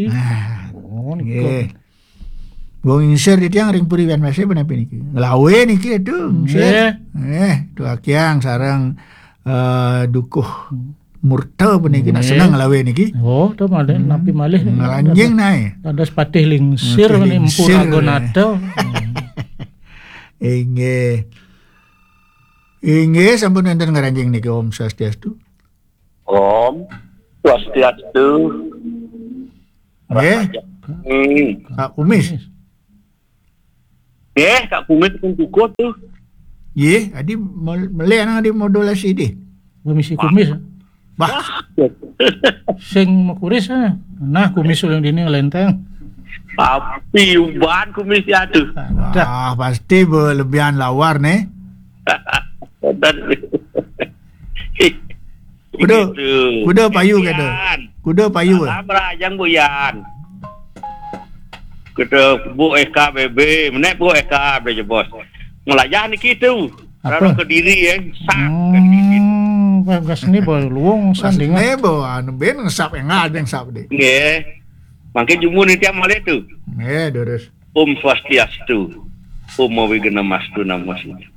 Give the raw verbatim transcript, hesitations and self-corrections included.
Nah, oh, nggih. Wong ngingsir titiang ring puri wian masih punapi niki? Nglawe niki, aduh, ngingsir. Nggih. Eh, duakiang sareng, eh, dukuh murta puniki nak seneng nglawe niki. Oh, to malih, napi malih. Ngranjing nae. Dados patih lingsir. Patih nih, Empu lingsir. Ragonata. Inggih. Inggih, sampun wonten ngranjing niki. Om Swastiastu. Om Swastiastu. Nggih. Hmm. Kak Kumis. Nggih, Kak Kumis pun kukuh tuh. Nggih, adi mel-, melih nang adi modulasi di. Kumis, kumis. Bah. Sing makuris, eh. Nah, kumis uling dini ngelenteng. Tapi uban kumis ya tuh. Wah, pasti berlebihan lawar nih. Kuda, kuda payu kata. Kuda payu, eh. Salam rajang Bu Yan. Kuda Bu Eka B B, menek Bu Eka B B, bos. Melajah niki tu. Apa? Raro Kediri, eh. Sap, kan gitu. Hmm, bagas ni, boy. Luwung sandingan. Ni, boy, anu, ben ngesap, enggak ada yang sap deh. Nggih. Mangke jumun niki malih tu. Nggih, durus. Om Swastiastu. Om Awighnamastu Namo Sidham.